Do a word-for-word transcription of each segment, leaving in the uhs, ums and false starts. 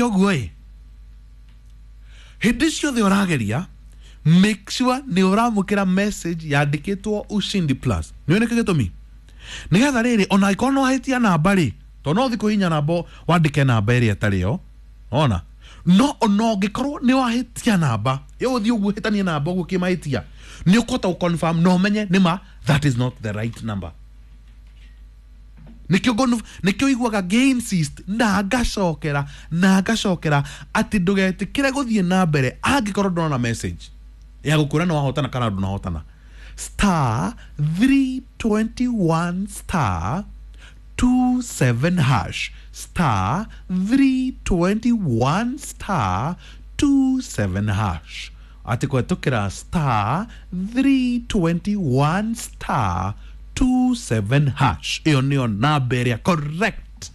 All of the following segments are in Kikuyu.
Ũguo ĩ, hĩndĩ ciothe ũrageria, make sure nĩ ũramũkĩra message yandĩkĩtwo Ushindi Plus. Nĩ nĩkĩ gĩtũmi? Nĩgetha rĩrĩ, ona angĩkorwo nĩ wahĩtia namba rĩ, tondũ no ũthiĩ kũhihinya namba wandĩke namba ĩrĩa ĩtarĩ yo ona no ona ũngĩkorwo nĩ wahĩtia namba ĩyo, ũthiĩ ũguo hĩtanie namba ũguo kĩmahĩtia, nĩ ũkũhota gũconfirm na ũmenye nĩma that is not the right number. Nĩkĩo ngono nĩkĩo iguaga ngĩ-insist na ngacokera na ngacokera atĩ ndũgetĩkĩre gũthiĩ na mbere angĩkorwo ndũrona message ya gũkwĩra nĩ wahotana kana ndũnahotana. Star three twenty-one star twenty-seven hash, star three twenty-one star twenty-seven hash, atĩ kũhetũkĩra star three twenty-one star twenty-seven hash, ĩyo nĩyo namba ĩrĩa correct.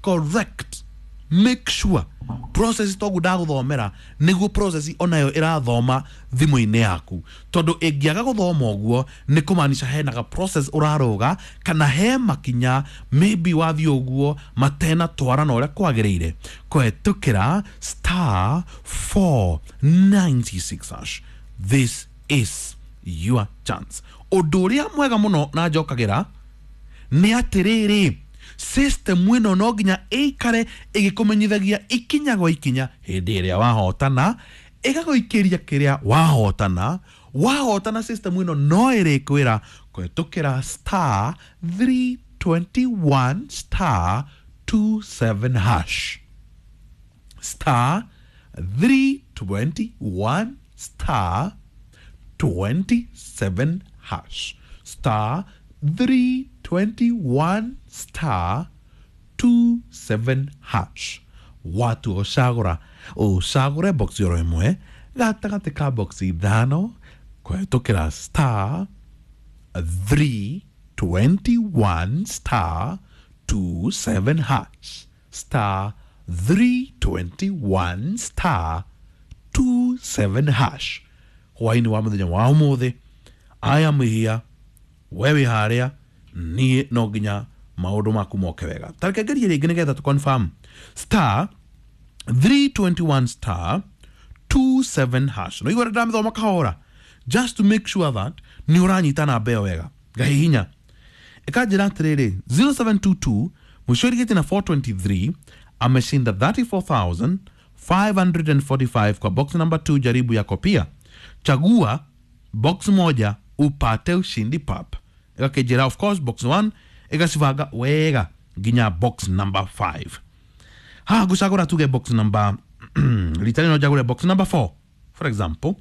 Correct. Make sure process toguo ndagũthomera nĩguo process onayo ĩrathoma thimũ-inĩ yaku, tondũ ĩngĩaga gũthoma ũguo nĩ kũmaanisha hena ga process ũrarũga kana he makinya maybe wathiĩ ũguo matena twara na ũrĩa kwagĩrĩire. Kũhetũkĩra star four ninety-six hash, this is your chance. Ũndũ ũrĩa mwega mũno na njokagĩra nĩ atĩrĩrĩ, system ĩno no nginya ĩikare ĩgĩkũmenyithagia ikinya gwa ikinya hĩndĩ ĩrĩa wahotana, ĩgagũikĩria kĩrĩa wahotana. Wahotana, system ĩno no ĩrĩkwĩra kũhetũkĩra star three twenty-one star twenty-seven hash, star three twenty-one star twenty-seven hash, star three twenty-one star twenty-seven hash. Watu ũcagũra ũcagũre box oro ĩmwe gatagatĩ ka box ithano kũhetũkĩra star three twenty-one star twenty-seven hash, star three twenty-one star twenty-seven hash. Hwaĩ-inĩ wa mũthenya wa ũmũthĩ, I am here, we wĩ harĩa, niĩ no nginya maũndũ maku moke wega. Tareke ngerie rĩngĩ nĩgetha tũ confirm. Star three twenty-one star twenty-seven hash. No igua ndamĩthoma kahora just to make sure that nĩ ũranyita namba ĩyo wega. Ngahihinya, ĩkanjĩra atĩrĩrĩ, zero seven two two mũico ĩrigĩtie na four twenty-three ameshinda thirty-four thousand five hundred forty-five kwa box number two. Jaribu yako pia, chagua box moja upate ushindi pap. Ĩgakĩnjĩra of course box one, ĩgacibanga wega nginya box number five. Haha ngũcagũra tuge box number, rita rĩno njagũre box number four, for example.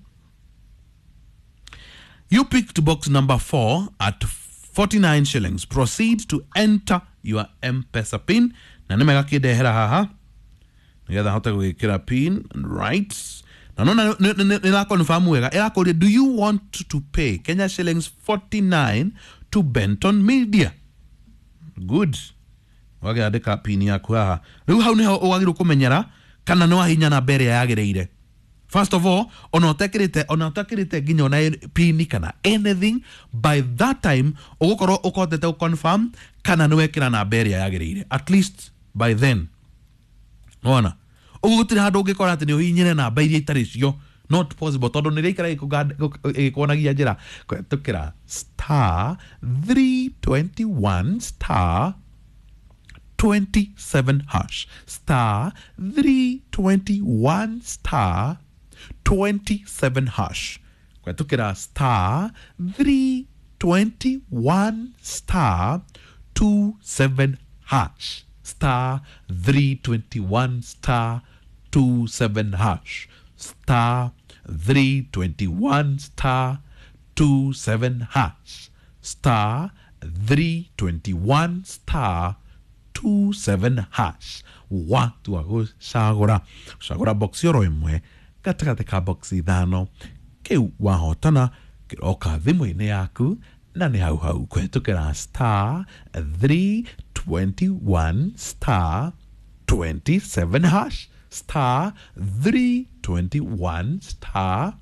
You picked box number four at forty-nine shillings. Proceed to enter your M-Pesa PIN. Na nĩ mega kĩndehera haha nĩgetha hote gwĩkĩra PIN, right? Na nona nĩ ĩra wega, ĩrakũria, "Do you want to pay Kenya shillings forty-nine to Benton Media?" Good. Wagĩandĩka PIN yaku haha. Rĩu hau nĩho ũgagĩrĩirwo kũmenyera kana nĩ wahinya namba ĩrĩa yagĩrĩire. First of all, ona ũtekĩrĩte ona ũtekĩrĩte nginya ona PIN kana anything, by that time ũgũkorwo ũkotete gũconfirm kana nĩ wekĩra namba ĩrĩa yagĩrĩire at least by then. Wona ũguo gũtirĩ handũ ũngĩkora atĩ nĩ ũhihinyire namba iria itarĩ cio. Not possible, tondũ nĩ rĩikara ĩgĩkuonagia njĩra kũhetũkĩra star three twenty-one star twenty-seven hash, star three twenty-one star twenty-seven hash, kũhetũkĩra star three twenty-one star twenty-seven hash, star three twenty-one star twenty-seven hash, star three twenty-one star twenty-seven hash, star three twenty-one star twenty-seven hash. Watua gũcagũra gũcagũra box oro ĩmwe gatagatĩ ka box ithano, kĩu wahotana kĩroka thimũ-inĩ yaku na nĩ hau hau kũhetũkĩra star three twenty-one star twenty-seven hash, star three twenty-one star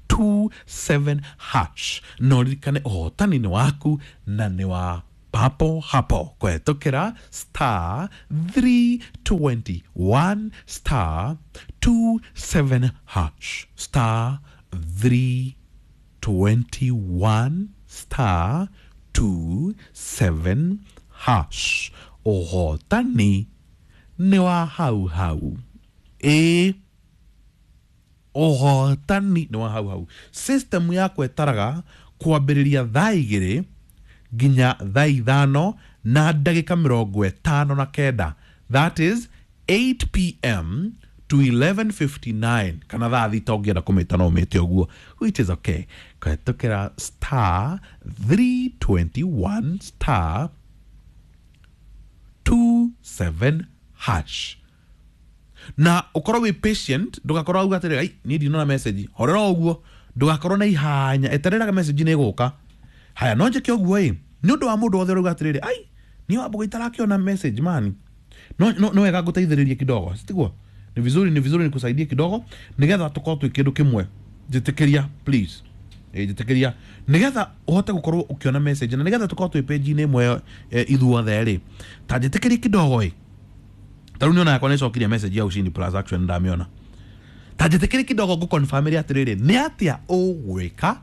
twenty-seven hash. Na ũririkane ũhotani nĩ waku na nĩ wa Papo hapo kũhetũkĩra star three twenty-one star two seven hash, star three twenty-one star two seven hash. Ũhotani nĩ wa hau hau. Ĩĩ, ũhotani nĩ wa hau hau. System yakwa ĩtaraga kwambĩrĩria thaa igĩrĩ nginya thaa ithano na ndagĩka mĩrongo ĩtano na kenda, that is eight p m to eleven fifty-nine, kana thaa thita ũngĩenda kũmĩta no ũmĩte ũguo, which is okay. Kũhetũkĩra star three twenty-one star twenty-seven hash, na ũkorwo wĩ patient. Ndũgakorwo auga atĩrĩrĩ, "Ai, niĩ ndinona message." Horera ũguo, ndũgakorwo na ihanya, etereraga message nĩ ĩgũka. Haya, no njĩke ũguo ĩ nĩ ũndũ wa mũndũ wothe ũrauga atĩrĩrĩ, "Ai, niĩ Wambũgũ itarakĩona message mani." no no no wega ngũteithĩrĩrie kidogo, sitiguo? Ni vizuri, ni vizuri nikusaidie kidogo nigetha tukorwo twĩ kĩndũ kĩmwe. Njĩtĩkĩria please. Ĩ, njĩtĩkĩria nigetha ũhote gũkorwo ũkĩona message na nigetha tũkorwo twĩ page-inĩ ĩmwe eh, ithuothe rĩ, ta njĩtĩkĩrie kidogo. Ĩ, ta rĩu nĩona yakwa nĩcokirie message ya Ushindi Plus. Actually ndamĩona. Ta njĩtĩkĩrie kidogo ngũconfirmĩre atĩrĩrĩ, nĩ atĩa ũgwĩka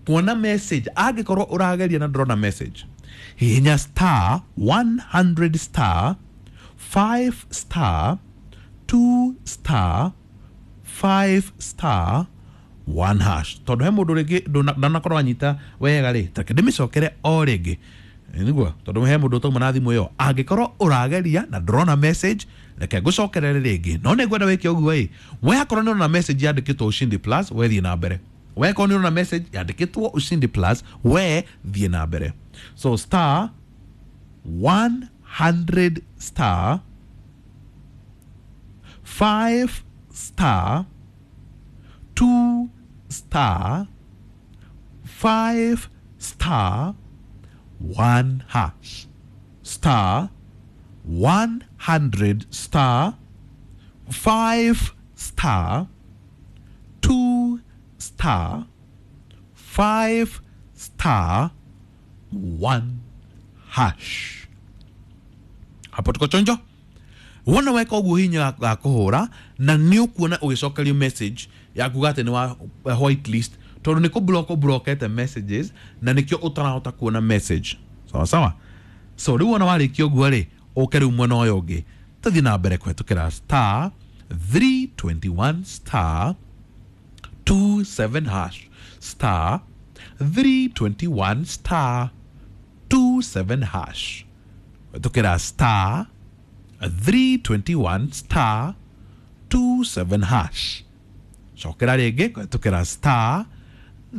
kuona message. Angĩkorwo ũrageria na ndũrona message, hihinya star one hundred star five star two star five star one hash. Tondũ he mũndũ rĩngĩ ndũna- ndanakorwo anyita wega rĩ, tareke ndĩmĩcokere o rĩngĩ. Ĩ, nĩguo tondũ he mũndũ ũtauma na thimũ ĩyo. Angĩkorwo ũrageria na ndũrona message, reke ngũcokerere rĩngĩ, no nĩ ngwenda wĩke ũguo. Ĩ, we akorwo nĩ ũrona message yandĩkĩtwo Ushindi Plus, we thiĩ na mbere. We akorwo nĩ ũrona message yandĩkĩtwo Ushindi Plus, we thiĩ na mbere. So star one hundred star five star two star five star one hash, star one hundred star five star two star five star one hash. Hapo tuko chonjo. Wona weka ũguo, hinya ga kũhũra na nĩ ũkuona ũgĩcokerio message ya kuga atĩ nĩ wa whitelist, tondũ nĩ kũ-block ũblokete messages na nĩkĩo ũtarahota kuona message. Sawa sawa. So rĩu wona warĩkia ũguo rĩ, ũke rĩu mwena ũyũ ũngĩ, tũthiĩ na mbere kũhetũkĩra star three twenty-one star twenty-seven hash, star three twenty-one star twenty-seven hash, kũhetũkĩra star three twenty-one star twenty-seven hash. Cokera rĩngĩ, kũhetũkĩra star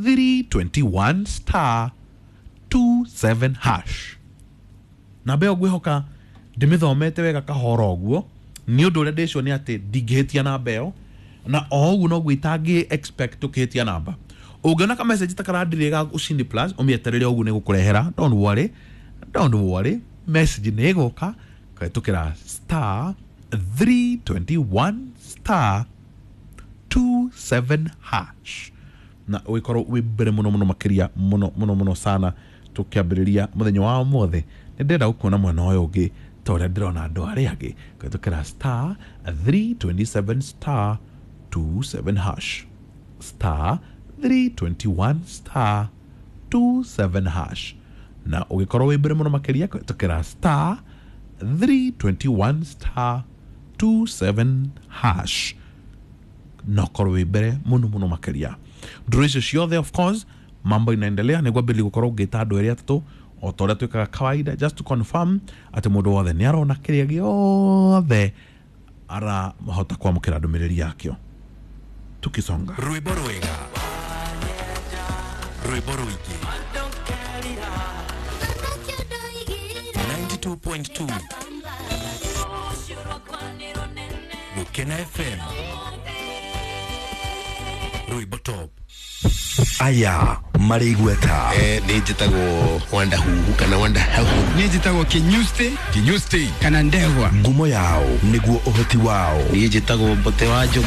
three twenty-one star twenty-seven hash. Namba ĩyo ngwĩhoka ndĩmĩthomete wega kahora ũguo. Nĩ ũndũ ũrĩa ndĩcio nĩ atĩ ndingĩhĩtia namba ĩyo, na o ũguo noguo itangĩ expect ũkĩhĩtia namba. Ũngĩona ka message ta karandirĩ ga Ushindi Plus, ũmĩeterere ũguo, nĩ gũkũrehera. Don't worry, don't worry, message nĩ ĩgũka kũhetũkĩra star three twenty-one star twenty-seven hash, na ũgĩkorwo wĩ mbere mũno mũno makĩria, mũno mũno mũno sana. Tũkĩambĩrĩria mũthenya wa ũmũthĩ, nĩ ndĩrenda gũkuona mwena ũyũ ũngĩ ta ũrĩa ndĩrona andũ arĩa angĩ, kũhetũkĩra star three twenty-seven star twenty-seven hash, star three twenty-one star twenty-seven hash, na ũgĩkorwo wĩ mbere mũno makĩria kũhetũkĩra star three twenty-one star twenty-seven hash, na ũkorwo wĩ mbere mũno mũno makĩria. Ndũrũ icio ciothe, of course, mambo inaendelea. Nĩguo ambĩrĩria gũkorwo ngĩta andũ erĩ atatũ o ta ũrĩa twĩkaga kawaida, just to confirm atĩ mũndũ wothe nĩ arona kĩrĩa gĩothe arahota kwamũkĩra ndũmĩrĩri yakĩo. Tukisonga. Rwĩmbo rwega, rwĩmbo rũingĩ, ninety-two point two Gũkena F M, rwĩmbo top. Aya marĩ igweta. Eh, nĩ njĩtagwo Wanda Huhu kana Wanda Hahu. Niĩ njĩtagwo Kinyusti. Kinyusti. Kana Ndegwa. Ngumo yao nĩguo ũhoti wao. Niĩ njĩtagwo Mbote wa Njogu.